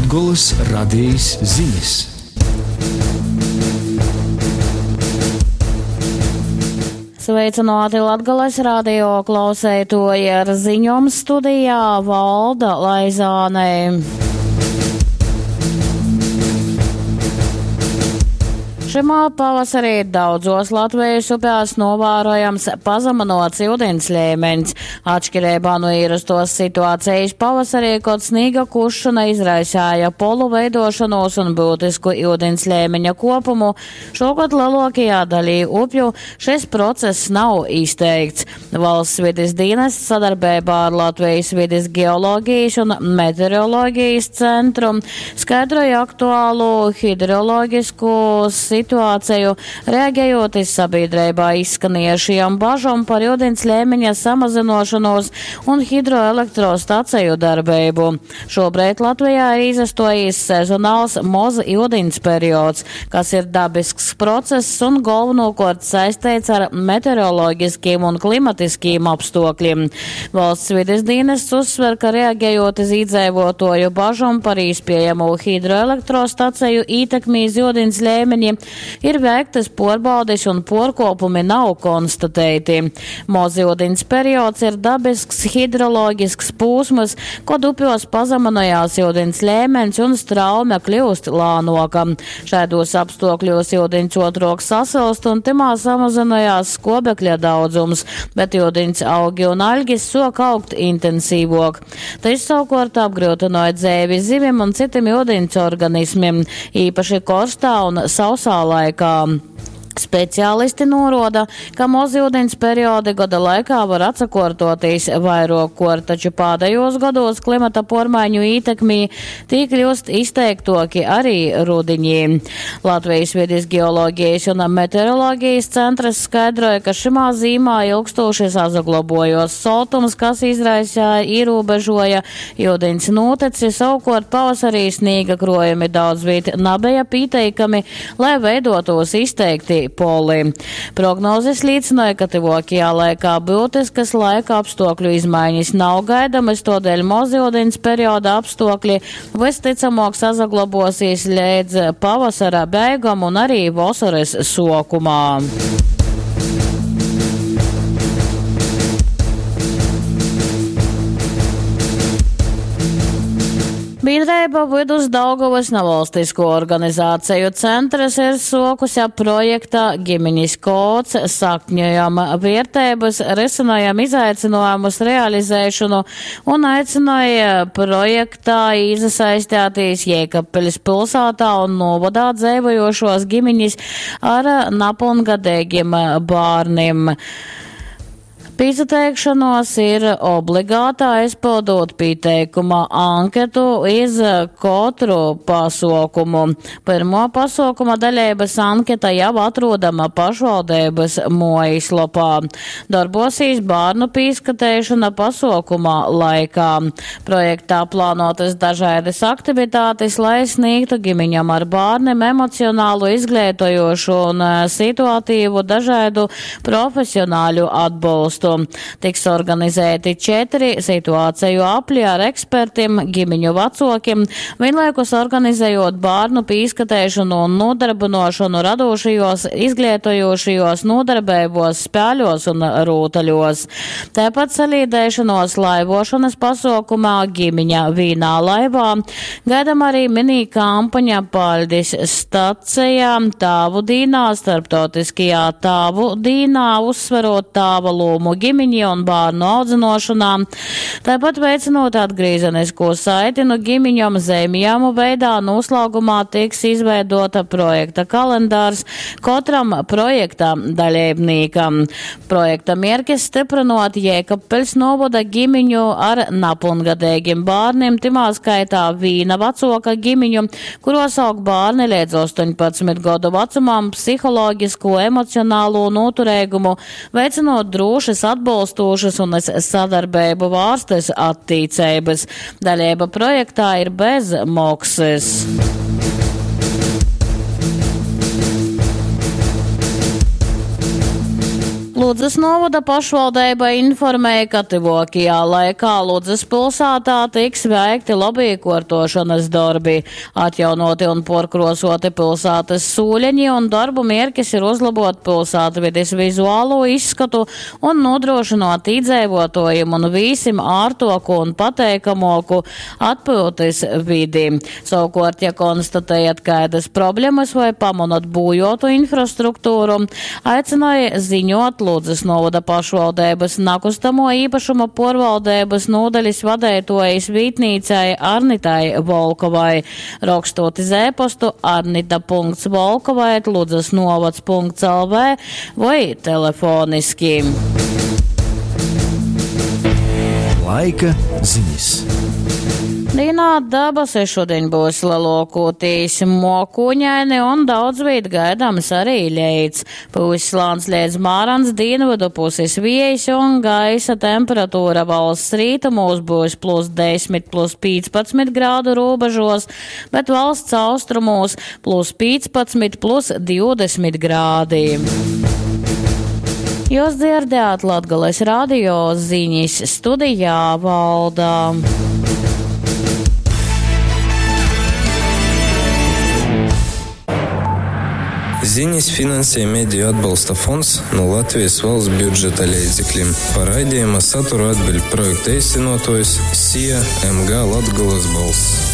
Latgolys Radejis zinis. Sveicināti Latgales radio klauseitoji ar ziņom studijā Valda Laizāne. Šymā pavasarī daudzos Latvijas upēs novērojams pazeminots iudins līmeņs. Atšķirībā no ierastos situācijas pavasarī, kad sniega kušana izraisēja polu veidošanos un būtisku iudins līmeņa kopumu, šogad lielākajā daļā upju šis process nav izteikts. Valsts vides dienests sadarbībā ar Latvijas vides geoloģijas un meteoroloģijas centru skaidroja aktuālu hidroloģisku situāciju, reaģējot iz sabiedrībā izskanējušajām bažām par ūdens līmeņa samazinošanos un hidroelektrostaciju darbību. Šobrīd Latvijā ir izastojies sezonāls moz ūdens periods, kas ir dabisks process un galvenokārt saistīts ar meteoroloģiskiem un klimatiskiem apstākļiem. Valsts vides dienests uzsver, ka reaģējot iz iedzīvotāju bažām par iespējamo hidroelektrostaciju ietekmi iz ūdens līmeņi, ir veiktas porbaudes un porkopumi nav konstatēti. Moz ūdens periods ir dabisks hidroloģisks pūsmas, kod upjos pazeminojās ūdens līmenis un straume kļūst lānoka. Šādos apstākļos ūdens otrok sasilst un timā samazinājās skobekļa daudzums, bet ūdens augi un aļgis sok augt intensīvok. Tas savukārt apgrūtināja dzēvi zivim un citiem ūdens organismiem, īpaši korstā un sausā laikā. Speciālisti noroda, ka mozūdens periodi gada laikā var atsakortoties vairākor, taču pēdējos gados klimata pormaiņu ietekmī tī kļūst izteiktoki arī rudiņī. Latvijas vides geoloģijas un meteoroloģijas centrs skaidroja, ka šimā zīmā ilgstoši sazaglabojos soltums, kas izraisīja ierobežoja ūdens noteci, savukārt pavasarī sniega krojumi daudz viet nabeja pieteikami, lai veidotos izteikti poli. Prognozes liecināja, ka tuvākajā laikā būtiskas laika apstākļu izmaiņas nav gaidamas, todēļ mozūdens perioda apstākļi visticamāk sazaglabosies līdz pavasara beigām un arī vasaras sokumā. Biedrība Vidus Daugavas nevalstisko organizāciju centrs ir sokusi ap projekta ģimeņas kods sakņojam vērtības, risinājam izaicinājumus realizēšanu un aicināja projektā iesaistīties Jēkabpiļas pilsētā un novadā dzīvojošos ģimeņas ar napilngadīgiem bērniem. Pieteikšanos ir obligātā aizpildot pieteikuma anketu iz katru pasaukumu. Pirmo pasaukuma daļības anketa jau atrodama pašvaldības mājaslapā. Darbosīs bērnu pīskatēšana pasaukuma laikā. Projektā plānotas dažādas aktivitātes, lai sniegtu ģimeņam ar bērniem emocionālu, izglītojošu un situatīvu dažādu profesionāļu atbalstu. Tiks organizēti 4 situāciju apļi ar ekspertiem, ģimeņu vecokiem, vienlaikus organizējot bērnu pīskatēšanu un nodarbinošanu radošajos, izglītojošajos nodarbībos, spēļos un rūtaļos. Tāpat salīdēšanos laivošanas pasaukumā ģimeņa vīnā laivā gaidām arī mini kampaņa Paļdis stacijā Tāvu dīnā, starptautiskajā Tāvu dīnā, uzsverot tāva lomu ģimeņi un bērnu audzinošanā. Tāpat veicinot atgriezenisko saiti no ģimiņom zemjāmu veidā, noslēgumā tiks izveidota projekta kalendārs katram projekta dalībniekam. Projekta mērķis stiprinot Jēkabpils novada ģimiņu ar napilngadīgiem bērniem, timā skaitā vīna vecoka ģimiņu, kuros aug bērni līdz 18 gadu vecumam, psiholoģisko, emocionālo noturēgumu, veicinot drošas, atbalstošas un sadarbību vārstes attīcības. Dalība projektā ir bez maksas. Ludzas novada pašvaldība informēja, ka tyvākajā laikā Ludzas pilsētā tiks veikti lobīkortošanas darbi, atjaunoti un porkrosoti pilsētas sūļeņi un darbu mierkis ir uzlabot pilsētvides vizuālo izskatu un nodrošinot īdzēvotojiem un vīsim ārtoku un pateikamoku atpūtas vidi. Savukārt, ja konstatējat kādas problemas vai pamanot būjotu infrastruktūru, aicināja ziņot Ludzas novada pašvaldības nakustamo īpašuma porvaldības nodaļas vadētojas vītnīcai Arnitai Volkovai. Rakstot iz e-postu arnita.volkovai ludzasnovads.lv vai telefoniski. Laika ziņas. Dienā debesis šodien būs lielākoties mokuņaini un daudz vīt gaidāms arī ļeits. Puslāns liedz mārans dienvidu puses viejas un gaisa temperatūra valsts rītumos būs plus 10, plus 15 grādu robežos, bet valsts austrumos plus 15, plus 20 grādi. Jūs dzirdējāt Latgales radio ziņas studijā valdā. Ziņas finansē Mediju atbalsta fonds no Latvijas valsts budžeta līdzekļiem. Par raidījuma saturu atbild projekta īstenotājs SIA MG Latgulas balss.